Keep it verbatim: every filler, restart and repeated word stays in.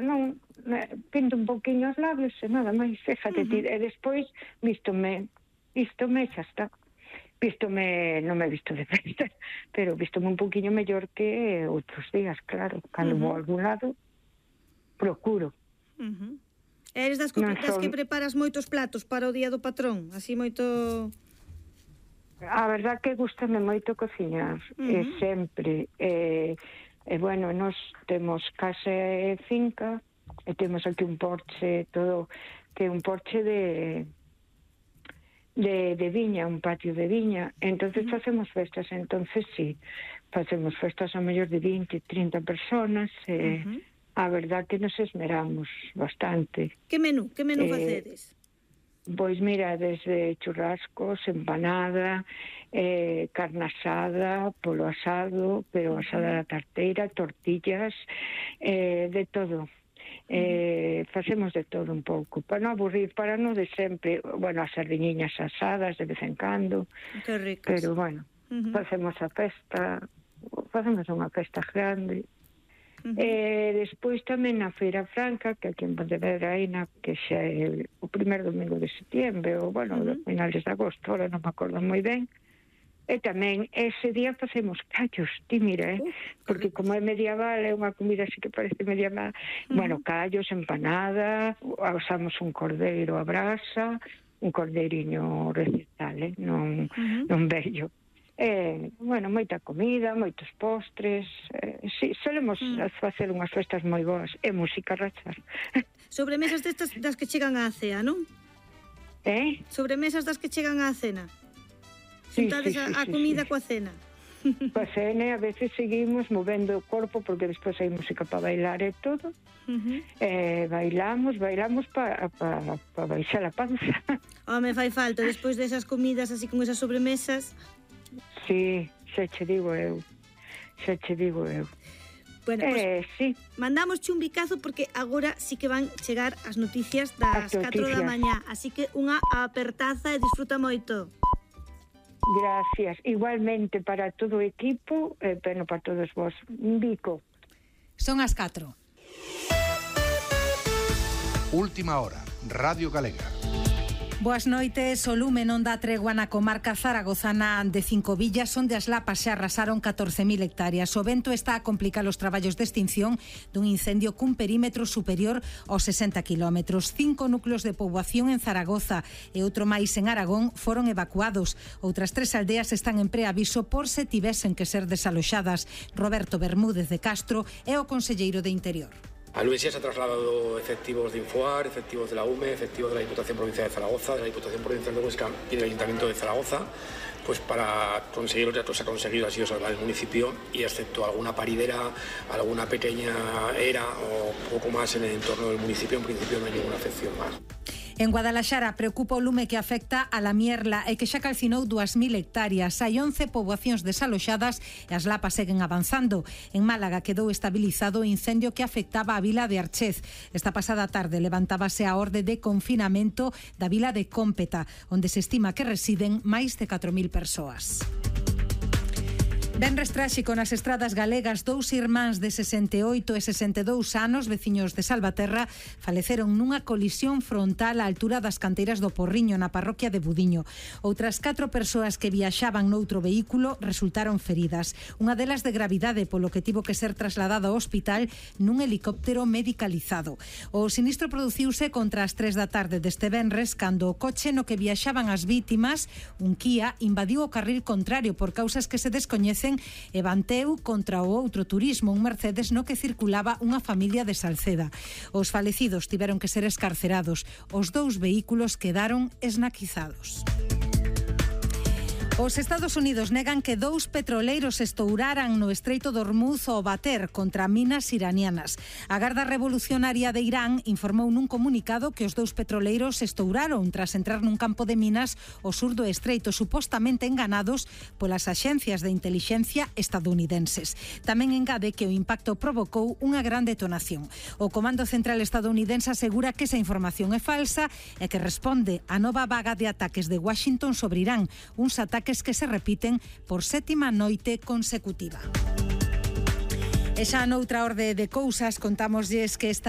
non, pinto un poquinho os labios e nada máis, fíjate, uh-huh. E despois vístome, vístome, xa está. Vístome, non me he visto de festa, pero vístome un poquinho mellor que outros días, claro. Cando uh-huh. vou a algún lado, procuro. Uh-huh. Eres das, co- das son... que preparas moitos platos para o día do patrón? Así moito... A verdad que gustame moito cociñar, uh-huh. e sempre... Eh, E, bueno, nós temos casa e finca, e temos aquí un porche, todo, que é un porche de, de, de viña, un patio de viña. Entonces uh-huh. facemos festas, entonces sí, facemos festas a mellor de vinte, trinta personas, e uh-huh. a verdad que nos esmeramos bastante. Que menú, que menú eh, facedes? Pois mira, desde churrascos, empanada, eh, carne asada, polo asado, pero asada da tarteira, tortillas, eh, de todo. Eh, facemos de todo un pouco, para non aburrir, para non de sempre, bueno, as sardiñiñas asadas de vez en cando. Que ricas. Pero bueno, uh-huh. facemos a festa, facemos unha festa grande. Uh-huh. E despois tamén na Feira Franca, que aquí en Pontevedra hai na, que xa é o primeiro domingo de setiembre, ou bueno, uh-huh. finales de agosto, ahora non me acordo moi ben. E tamén ese día facemos callos, ti mira, eh? Uh, porque como é medieval, é unha comida así que parece medieval. Uh-huh. Bueno, callos, empanada, asamos un cordeiro a brasa, un cordeiriño recital, eh? non, uh-huh. non bello. Eh, bueno, moita comida, moitos postres, eh, sí, solemos mm. facer unhas festas moi boas, e música rachar. Sobremesas destas das que chegan á cea, non? Eh? Sobremesas das que chegan á cena. Sí, Juntades sí, sí, a, a comida sí, sí. coa cena. Coa cena, a veces seguimos movendo o corpo, porque despois hai música para bailar e todo. Uh-huh. Eh, bailamos, bailamos para pa, pa baixar a panza. Home, fai falta, despois desas comidas así con esas sobremesas. Sí, xa che digo eu, xa che digo eu. Bueno, pues, eh, sí. Mandamos un bicazo porque agora sí que van chegar as noticias das catro da mañá, así que unha apertaza e disfruta moito. Gracias, igualmente para todo o equipo, e eh, bueno, para todos vos. Un bico. Son as catro. Última hora, Radio Galega. Boas noites, o lume non dá tregua na comarca zaragozana de Cinco Villas, onde as lapas se arrasaron catorce mil hectáreas. O vento está a complicar os traballos de extinción dun incendio cun perímetro superior aos sesenta kilómetros. Cinco núcleos de poboación en Zaragoza e outro máis en Aragón foron evacuados. Outras tres aldeas están en preaviso por se tivesen que ser desaloxadas. Roberto Bermúdez de Castro é o conselleiro de Interior. A Luisia se ha trasladado efectivos de Infoar, efectivos de la U M E, efectivos de la Diputación Provincial de Zaragoza, de la Diputación Provincial de Huesca y del Ayuntamiento de Zaragoza, pues para conseguir los datos se ha conseguido así salvar el municipio, y excepto alguna paridera, alguna pequeña era o poco más en el entorno del municipio, en principio no hay ninguna afección más. En Guadalaxara preocupa o lume que afecta a la Mierla e que xa calcinou dúas mil hectáreas. Hai once poboacións desaloxadas e as lapas seguen avanzando. En Málaga quedou estabilizado o incendio que afectaba a vila de Archez. Esta pasada tarde levantábase a orde de confinamento da vila de Cómpeta, onde se estima que residen máis de catro mil persoas. Venres tráxico nas estradas galegas. Dous irmáns de sesenta e oito e sesenta e dous anos, veciños de Salvaterra, faleceron nunha colisión frontal á altura das canteiras do Porriño, na parroquia de Budiño. Outras catro persoas que viaxaban noutro vehículo resultaron feridas. Unha delas de gravidade, polo que tivo que ser trasladada ao hospital nun helicóptero medicalizado. O sinistro produciuse contra as tres da tarde deste venres, cando o coche no que viaxaban as vítimas, un Kia, invadiu o carril contrario por causas que se descoñecen e bateu contra o outro turismo, un Mercedes no que circulaba unha familia de Salceda. Os falecidos tiveron que ser escarcerados. Os dous vehículos quedaron esnaquizados. Os Estados Unidos negan que dous petroleiros estouraran no Estreito de Hormuz ao bater contra minas iranianas. A Garda Revolucionaria de Irán informou nun comunicado que os dous petroleiros estouraron tras entrar nun campo de minas ao sur do Estreito, supostamente enganados polas axencias de intelixencia estadounidenses. Tamén engade que o impacto provocou unha gran detonación. O Comando Central estadounidense asegura que esa información é falsa e que responde á nova vaga de ataques de Washington sobre Irán, uns ataques que se repiten por sétima noite consecutiva. E xa noutra orde de cousas contámoslles que esta